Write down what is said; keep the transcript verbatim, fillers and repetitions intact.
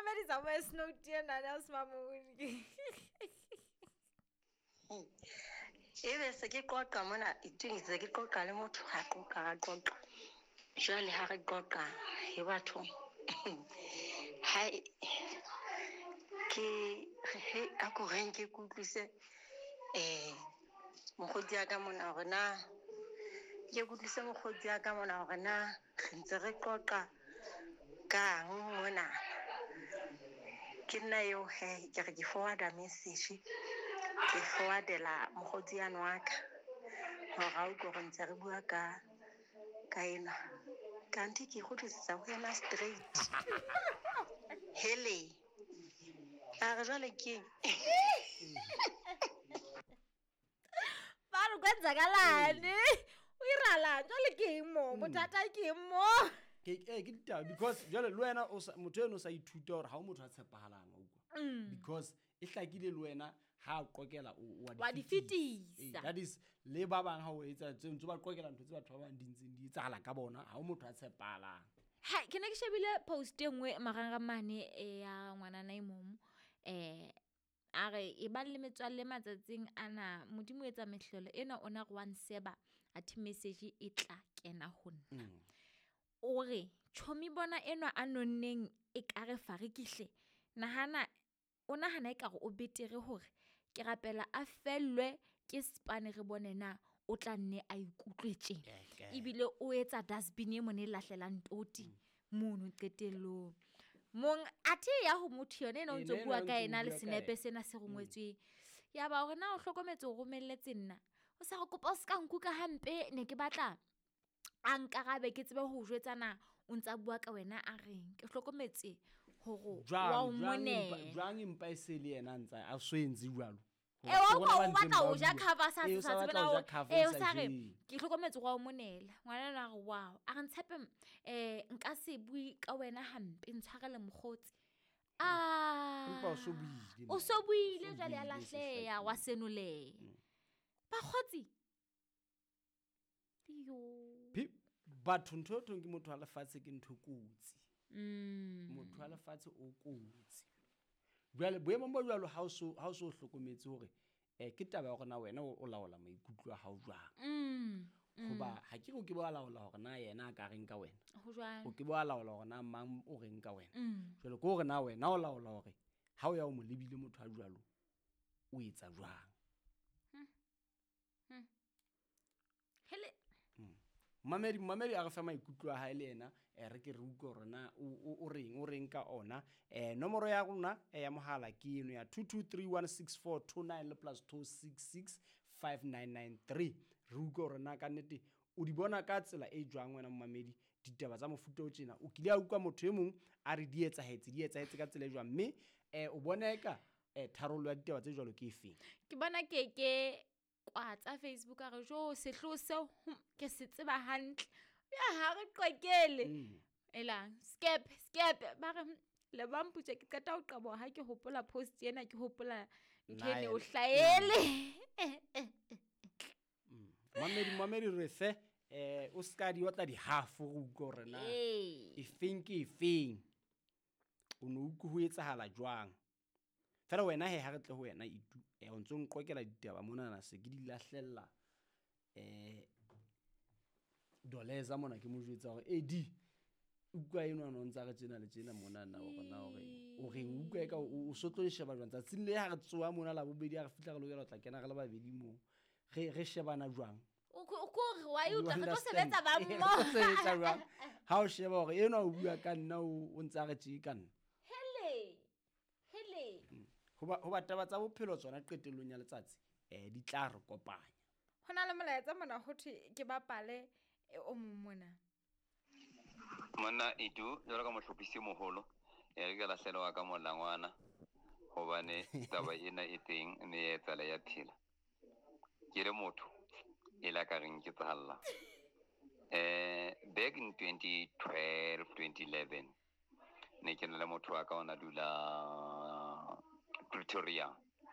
mamedisa voice note ena ya Smamodi. Ebe se ke qoqa mona iteng se ke qoqa le motho ha qoqa ra qoqa. Jwale ha re qoqa he batho. Hai ke he a ko reng ke kutlwise eh mokgotsi ya ka mona hore na ke kutlwise mokgotsi ya ka mona hore na re ntse re qoqa kang mona. Ke nna eo he ke re ke forwarda message ke forwardela mokgotsi yane wa ka hore a utlwe hore ntse re bua ka ka enwa. Kanti ke kgutlisetsa ho yena straight. Hele. A re jwale ke eng? Ba re kwenzakalani? O iralang jwale ke eng mo? Bothata ke eng mo? Ke eh ke ditaba because jwale le wena o sa motho eno o sa ithuta hore ha o motho a tshepahalang wa utlwa. Because e hlakile le wena ha o qokela o wa di fetisa. That is le ba bang ha o etsa tse ntse ba qokela ntho tse batho ba bang di ntseng di etsahala ka bona ha o motho a tshepahalang. Ha ke ne ke shebile post e nngwe marangrang mane ya ngwanana e mong eh a re e ba le metswalle matsatsing ana Modimo o etsa mehlolo ena ona re wa nseba a thi message e tla kena ho nna. O re chomi bona enwa a nonneng e ka re farikihle nahana o nahana e ka re o betere hore ke rapela a fellwe ke spane re bone na o tla nne a ikutlwe tje ebile o etsa dustbin e mone lahlelang toti mono qetellong mong athe ya ho motho yone ena o ntso bua ka ena le senepe sena se rongwetsweng ya ba hore na o hlokometse o romelletse nna o sa re kopa o ska nkuka hampe ne ke batla a nkarabe ke tsebe ho jwetsana o ntsa bua ka wena a reng ke hlokometse hore wa o monela jwang empa e se le yena ntsa a swentse jwalo e o o batla o ja cover sa sa tsebela o e o sa re ke hlokometse wa o monela ngwana na re wow a re ntshepe eh nka se bui ka wena hampe ntshwarele mokgotsi ah empa o so buile o so buile jwale a lahleya wa senoleya bakgotsi yo batho ntho thong ke motho wa lefatshe ke ntho kotsi mm motho wa lefatshe o kotsi jwale boemong bo jwalo ha o so ha o so hlokometse hore eh ke taba ya hore na wena o laola maikutlo a hao jwang mm hoba ha ke go ke ba laola hore na yena a ka reng ka wena ho jwang o ke ba laola hore na mang o reng ka wena jwale ke hore na wena o laola hore ha o ya o mo lebile motho a jwalo o etsa jwang hm hele Mamedi mamedi a re fa maikutlo a hae le yena eh re ke re utlwe hore na o reng o reng ka ona eh nomoro ya rona ya mohala ke eno ya two two three one six four two nine le plus two six six five nine nine three re utlwe hore na ka nnete o di bona ka tsela e jwang wena mamedi ditaba tsa mofuta o tjena o kile a utlwa motho e mong a re di etsahetse di etsahetse ka tsela e jwang mme eh o bona eka eh tharollo ya ditaba tse jwalo ke efeng ke bona ke ke kwa tsa Facebook a re jo sehloho seo ke se tseba hantle ya ha re qokele elang skep skep ba re le ba mputse ke qeta ho qaboha ha ke hopola post ena ke hopola ntho ene o hlaele mamedi mamedi re fe eh o ska di otla di half go utlwa hore na e feng ke e feng o no utlwe ho etsahala jwang fela wena he ha re tle ho wena itu eh o ntso nqokela ditaba mona na se ke di lahlella eh doleza mona ke mo jwetsa hore e di utlwa eno no ntsa re tsena le tsena mona na hore na hore o reng utlwa e ka o sotlo sheba jwang tsatsing le ha re tsoa mona la bobedi ha re fihla re lokela ho tla kena re le babedi mo re re shebana jwang o ko re wa e utlwa re tlo sebetsa ba mmo sebetsa jwang ha o sheba hore eno o bua ka nna o ntsa re tje ka nna hele hele hoba hoba taba tsa bophelo tsona qetellong ya letsatsi eh di tla re kopanya hona le molaetsa mona ho thwe ke bapale o mong mona monna Edu jwalo ka mohlophisi moholo e re ke lahlelwa ka molangwana hobane taba ena e teng mme ya etsala ya phela ke le motho e la ka reng ke tsahalla eh back in twenty twelve twenty eleven ne ke na le motho wa ka ona dula Pretoria